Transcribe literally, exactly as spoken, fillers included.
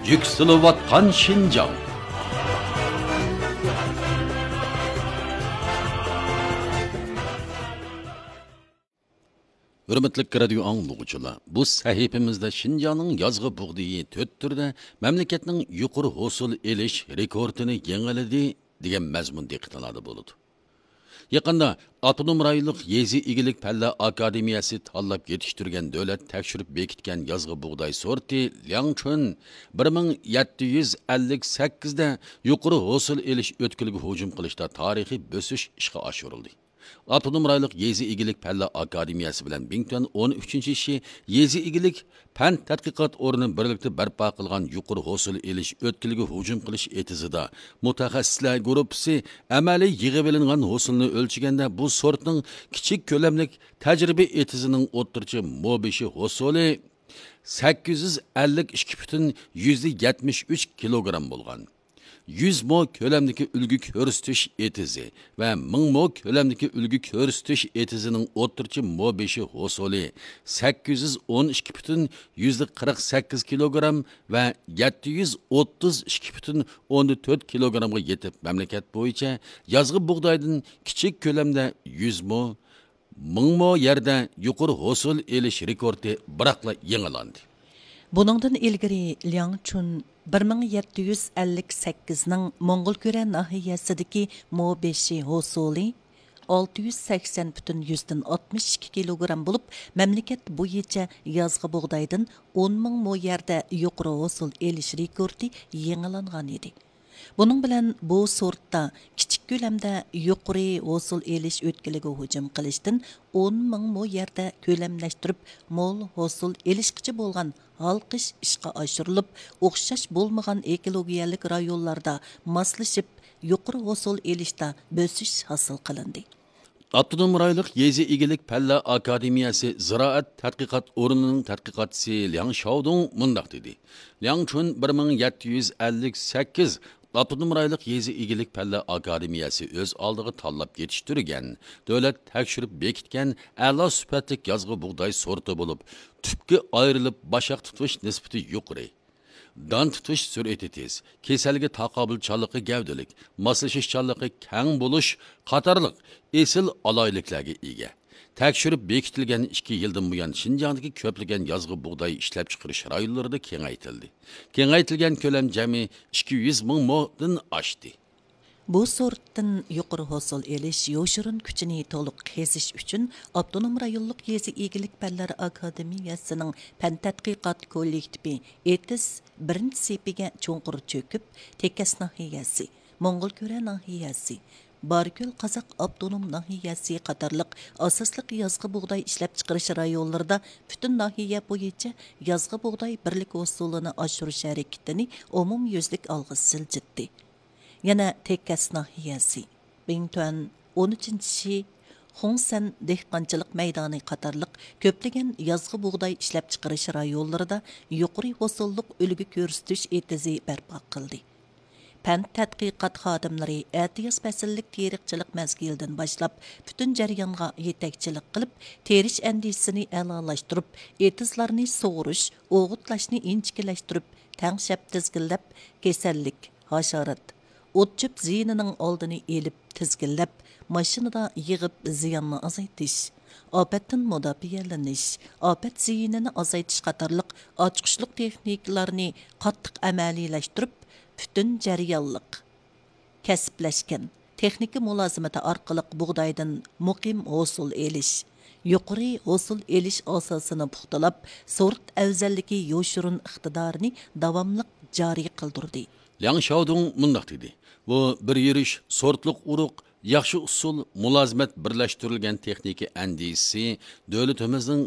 يۈكسىلىۋاتقان شىنجاڭ. ھۆرمەتلىك رادىيو ئاڭلىغۇچىلار، بۇ سەھىپىمىزدە شىنجاڭنىڭ يازغا بۇغدىيى تۆت تۈردە مەملىكەتنىڭ يۇقىرى ھوسۇل ئېلىش رېكورتىنى يېڭىلىدى دېگەن مەزمۇن دىققىتىڭلاردا بولىدۇ. يېقىندا ئاپتونوم رايونلۇق يېزا ئىگىلىك پەنلەر ئاكادېمىيەسى تاللاپ يېتىشتۈرگەن دۆلەت تەكشۈرۈپ بېكىتكەن يازغا بۇغداي سورتى لياڭچۈن بىر مىڭ يەتتە يۈز ئەللىك سەككىزدە يۇقىرى ھوسۇل ئېلىش ئۆتكىلىگە ھۇجۇم قىلىشتا تارىخىي بۆسۈش ئىشقا ئاشۇرۇلدى. ئاپتونوم رايونلۇق يېزا ئىگىلىك پەنلەر ئاكادېمىيەسى بىلەن بىڭتۈەن ئون ئۈچىنچى شى يېزا ئىگىلىك پەن تەتقىقات ئورنى بىرلىكتە بەرپا قىلغان يۇقىرى ھوسۇل ئېلىش ئۆتكىلىگە ھۇجۇم قىلىش ئېتىزىدا مۇتەخەسسىسلەر گۇرۇپپىسى ئەمەلىي يىغىۋېلىنغان ھوسۇلنى ئۆلچىگەندە، بۇ سورتنىڭ كىچىك كۆلەملىك تەجرىبە ئېتىزىنىڭ ئوتتۇرىچە مو بېشى ھوسۇلى سەككىز يۈز ئەللىك ئىككى پۈتۈن يۈزدە يەتمىش ئۈچ كىلوگرام بولغان. يۈز مو كۆلەمدىكى ئۈلگە كۆرسىتىش ئېتىزى ۋە مىڭ مو كۆلەمدىكى ئۈلگە كۆرسىتىش ئېتىزىنىڭ ئوتتۇرىچە مو بېشى ھوسۇلى سەككىز يۈز ئون ئىككى پۈتۈن يۈزدە قىرىق سەككىز كىلوگرام ۋە يەتتە يۈز ئوتتۇز ئىككى پۈتۈن ئوندىن تۆت كىلوگرامغا يېتىپ، مەملىكەت بويىچە يازغا بۇغدايدىن كىچىك كۆلەمدە يۈز مو، مىڭ مو يەردە يۇقىرى ھوسۇل ئېلىش رېكورتى بىراقلا يېڭىلاندى. بۇنىڭدىن ئىلگىرى لياڭچۈن بىر مىڭ يەتتە يۈز ئەللىك سەككىزنىڭ موڭغۇلكۈرە ناھىيەسىدىكى مو بېشى ھوسۇلى ئالتە يۈز سەكسەن پۈتۈن يۈزدىن ئاتمىش ئىككى كىلوگرام بولۇپ، مەملىكەت بويىچە يازغا بۇغدايدىن ئون مىڭ مو يەردە يۇقىرى ھوسۇل ئېلىش رېكورتى يېڭىلانغان ئىدى. بۇنىڭ بىلەن بۇ سورتتا كىچىك كۆلەمدە يۇقىرى ھوسۇل ئېلىش ئۆتكىلىگە ھۇجۇم قىلىشتىن ئون مىڭ مو يەردە كۆلەملەشتۈرۈپ، مول ھوسۇل ئېلىشقىچە بولغان ھالقىش ئىشقا ئاشۇرۇلۇپ، ئوخشاش بولمىغان ئېكولوگىيەلىك رايونلاردا ماسلىشىپ، يۇقىرى ھوسۇل ئېلىشتا بۆسۈش ھاسىل قىلىندى. ئاپتونوم رايونلۇق يېزا ئىگىلىك پەنلەر ئاكادېمىيەسى زىرائەت تەتقىقات ئورنىنىڭ تەتقىقاتچىسى لياڭ شاۋدۇڭ مۇنداق دېدى: لياڭچۈن بىر مىڭ يەتتە يۈز ئەللىك سەككىز ئاپتونوم رايونلۇق يېزا ئىگىلىك پەنلەر ئاكادېمىيەسى ئۆز ئالدىغا تاللاپ يېتىشتۈرگەن، دۆلەت تەكشۈرۈپ بېكىتكەن ئەلا سۈپەتلىك يازغا بۇغداي سورتى بولۇپ، تۈپكە ئايرىلىپ باشاق تۇتۇش نىسبىتى يۇقىرى، دان تۇتۇش سۈرئىتى تېز، كېسەلگە تاقابىلچانلىقى گەۋدىلىك، ماسلىشىشچانلىقى كەڭ بولۇش قاتارلىق ئېسىل ئالاھىدىلىكلەرگە ئىگە. تەكشۈرۈپ بېكىتىلگەن ئىككى يىلدىن بۇيان، شىنجاڭدىكى كۆپلىگەن يازغا بۇغداي ئىشلەپچىقىرىش رايونلىرىدا كېڭەيتىلدى. كېڭەيتىلگەن كۆلەم جەمئىي ئىككى يۈز مىڭ مودىن ئاشتى. بۇ سورتتىن يۇقىرى ھوسۇل ئېلىش يوشۇرۇن كۈچىنى تولۇق قېزىش ئۈچۈن، ئاپتونوم رايونلۇق يېزا ئىگىلىك پەنلەر ئاكادېمىيەسىنىڭ پەن تەتقىقات كوللېكتىپى ئېتىز بىرىنچى سېپىگە چوڭقۇر چۆكۈپ، تېكەس ناھىيەسى، موڭغۇلكۈرە ناھىيەسى، باركۆل قازاق ئاپتونوم ناھىيەسى قاتارلىق ئاساسلىق يازغا بۇغداي ئىشلەپچىقىرىش رايونلىرىدا پۈتۈن ناھىيە بويىچە يازغا بۇغداي بىرلىك ھوسۇلىنى ئاشۇرۇش ھەرىكىتىنى ئومۇميۈزلۈك ئالغا سىلجىتتى. يەنە تېكەس ناھىيەسى، بىڭتۈەن، ئون ئۈچىنچى شى، خۇڭسەن دېھقانچىلىق مەيدانى قاتارلىق كۆپلىگەن يازغا بۇغداي ئىشلەپچىقىرىش رايونلىرىدا يۇقىرى ھوسۇللۇق ئۈلگە كۆرسىتىش ئېتىزى بەرپا قىلدى. پەن تەتقىقات خادىملىرى ئەتىياز پەسىللىك تېرىقچىلىق مەزگىلىدىن باشلاپ، پۈتۈن جەريانغا يېتەكچىلىك قىلىپ، تېرىش ئەندىزىسىنى ئەلالاشتۇرۇپ، ئېتىزلارنى سۇغۇرۇش، ئوغۇتلاشنى ئىنچىكىلەشتۈرۈپ، تەڭشەپ تىزگىنلەپ، كېسەللىك، ھاشارات، ئوت-چۆپ زىيىنىنىڭ ئالدىنى ئېلىپ، تىزگىنلەپ، ماشىنىدا يىغىپ زىياننى ئازايتىش، ئاپەتتىن مۇداپىئەلىنىش، ئاپەت زىيىنىنى ئازايتىش قاتارلىق ئاچقۇچلۇق تېخنىكىلارنى قاتتىق ئەمەلىيلەشتۈرۈپ، پۈتۈن جەريانلىق، كەسىپلەشكەن تېخنىكا مۇلازىمىتى ئارقىلىق بۇغدايدىن مۇقىم ھوسۇل ئېلىش، يۇقىرى ھوسۇل ئېلىش ئاساسىنى پۇختىلاپ، سورت ئەۋزەللىكى يوشۇرۇن ئىقتىدارىنى داۋاملىق جارى قىلدۇردى. لياڭ شاۋدۇڭ مۇنداق دېدى: بۇ بىر يۈرۈش سورتلۇق ئۇرۇق، ياخشى ئۇسۇل، مۇلازىمەت بىرلەشتۈرۈلگەن تېخنىكا ئەندىزىسى دۆلىتىمىزنىڭ